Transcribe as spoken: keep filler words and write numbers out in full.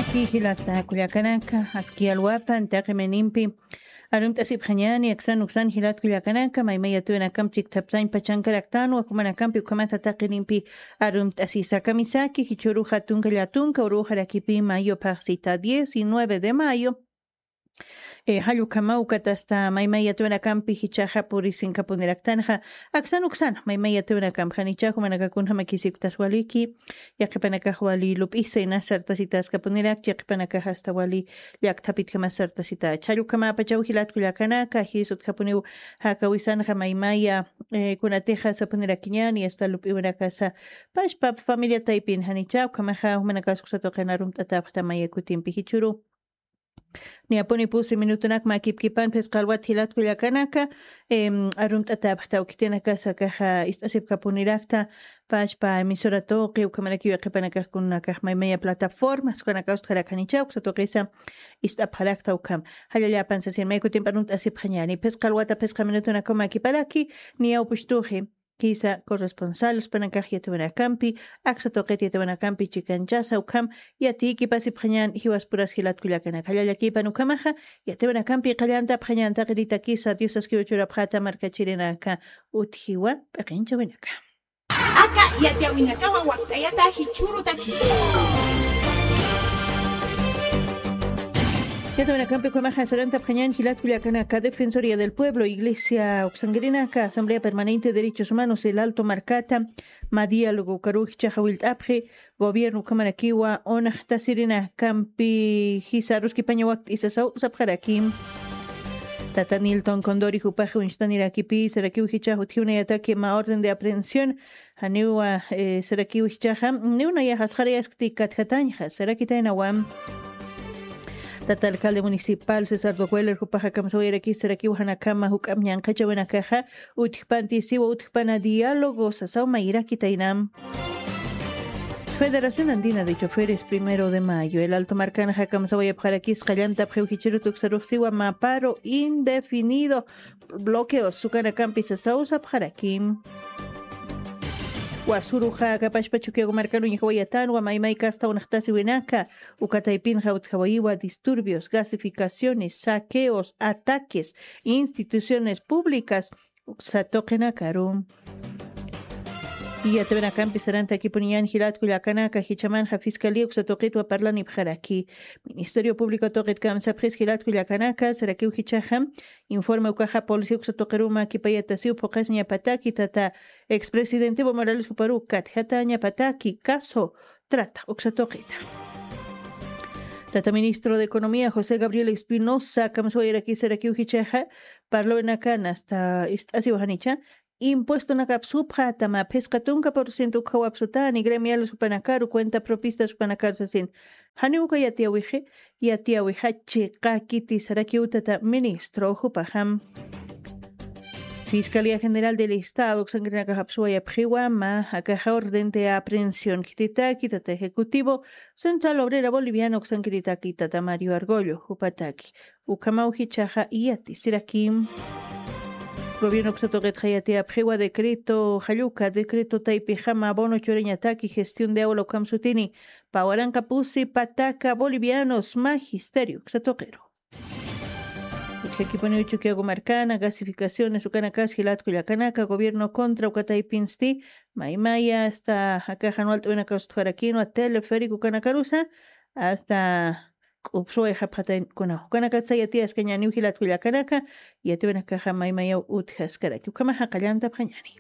Jilata kullakanaka, aski alwapan taqi mayninpi arumt'asipxañäni, aksan uksan jilat kullakanaka, maymay yatiwinakam chikthaptañ pachankaraktanwa, jumanakampi ukhamata taqinimpi arumt'asisa. Kamisaki jichhüru jatunka llatunka uruxarakipï mayo phaxsita, diecinueve de mayo. Eh, jall ukhamaw ukat asta maymay yatiwinakampi jichhaxa purisinkapuniraktanaxa, aksan uksan maymay yatiwinakampi janicha jumanaka kunjamakisi uktas waliki, yaqhipanakax wali lup'isa inas sartasitaskapuniraktxa, yaqhipanakax asta wali llakthapitjamas sartasita. Chhall ukhamapachaw jilat kullakanaka, jis utjapuniw jakawisanxa maymaya, eh, kunatixa sapunirakiñäni, asta lup'iwinakasa pachpa familia taypin janicha, ukhamaxa jumanakas uksa tuqin arumt'atäpxta maya kutimpi jichhüru. Niyapuni pusi minutunak mä kipkipan phisqa alwat jilat kullakanaka, em, arumt'atäpxta khitinakasa akaxa ist'asipkapunirakta, pachpa emisora tuqi, ukhamarakiw yaqhipanakax kunanakax maymaya plataformas ukanakax utjarakanicha, uksa tuqisa ist'apxarakta ukham. Jallallapan sasin, may kutimpi arumt'asipxañäni, phisqa alwata phisqa minutunakaw mä kiparaki, niyaw puchtuxi. Jisa corresponsal uspanakax yatiwinakampi, aksa tuqit yatiwinakampi chikanchasa ukham, yatiyki pasipxañän jiwaspurasa jilat kullakanaka. Jallallakipan ukhamaxa, yatiwinakampi qallantapxañän taqinitakisa, Dios askiw churapxäta markachirinaka, utjiwa p'iqinchawinaka. Aka yatiyawinakawa wakt'ayata jichhürutaki. Yatawinakampi ukhamaxa sarantapxañän jilat kullakanaka, Defensoría del Pueblo, Iglesia uksankirinaka, Asamblea Permanente de Derechos Humanos, El Alto markata, mä diálogo ukaruw jichhaxa willt'apxi, gobierno ukhamarakiwa unaxtasirinakampi jisa aruskipaña wakt'isa sasaw sapxaraki. Tata Nilton Condori jupax uñstanirakipi, sarakiw jichhax utjiwnayataki mä orden de aprehensión, janiwa, eh, sarakiw jichhaxa, niwnayax asxarayaskti katjatañxa, sarakitaynawam. Tata alcalde municipal César Doweller jupaxa kamsawayarakis sarakiw janakhama juk'amp ñanqhachawinakaxa utjpantisiwa, utjpana diálogo sasaw mayirakitaynam. Federación Andina de Choferes, primero de mayo, El Alto markanxa kamsawayapxarakis qallantapxiw jichhürut uksaruxsiwa mä paro indefinido, bloqueos ukanakampi sasaw sapxaraki. Wasüruxa akapachpa Chukiyawu markan uñjawayatänwa maymay kasta unaxtasiwinaka, uka taypinxa utjawayiwa disturbios, gasificaciones, saqueos, ataques, instituciones públicas, uksa tuqinakaru. Yatawinakampi sarantakipuniñän jilat kullakanaka, jichhamanxa fiscalía uksa tuqitwa parlanipxaraki. Ministerio Público tuqit kamsapxis jilat kullakanaka, sarakiw jichhaxa informe ukaxa policía uksa tuqiruw mä kipayatasiw phuqasiñapataki, tata expresidente Evo Morales juparuw katjatañapataki caso trata uksa tuqita. Tata ministro de Economía José Gabriel Espinosa kamsawayarakis sarakiw jichhaxa, parlawinakan asta ist'asiwa janicha, impuestonakap supxäta mä phisqa tunka por ciento ukhaw apsutäni gremiales jupanakaru, cuenta propistas jupanakaru sasin. Janiw uka yatiyawixi, yatiyäwixa chiqa kiti sarakiw tata ministro jupaxam. Fiscalía General del Estado uksankirinakax apsuwayapxiwa mä akaxa orden de aprehensión khititaki tata ejecutivo Central Obrera Boliviana uksankiritaki tata Mario Argollo jupataki. Ukhamaw jichhaxa yatisirakim. Gobierno uksa tuqitxa yatiyapxiwa decreto, jall uka decreto taypixam abono churañataki gestión de aula ukham sutini, pä waranqa pusi pataka bolivianos magisterio uksa tuqiru. Utjakipuniw Chukiyawu markana, gasificaciones ukanakas jilat kullakanaka, gobierno contra uka taypinsti, maymaya asta akaxan walt'awinakaw sutjarakinwa, teleférico ukanakarusa, asta k'upsuwayxapxatayn kunaw. Ukanakatsa yatiyaskañäniw jilat kullakanaka, yatiwinakaxa maymayaw utjaskaraki. Ukhamaxa qallantapxañäni.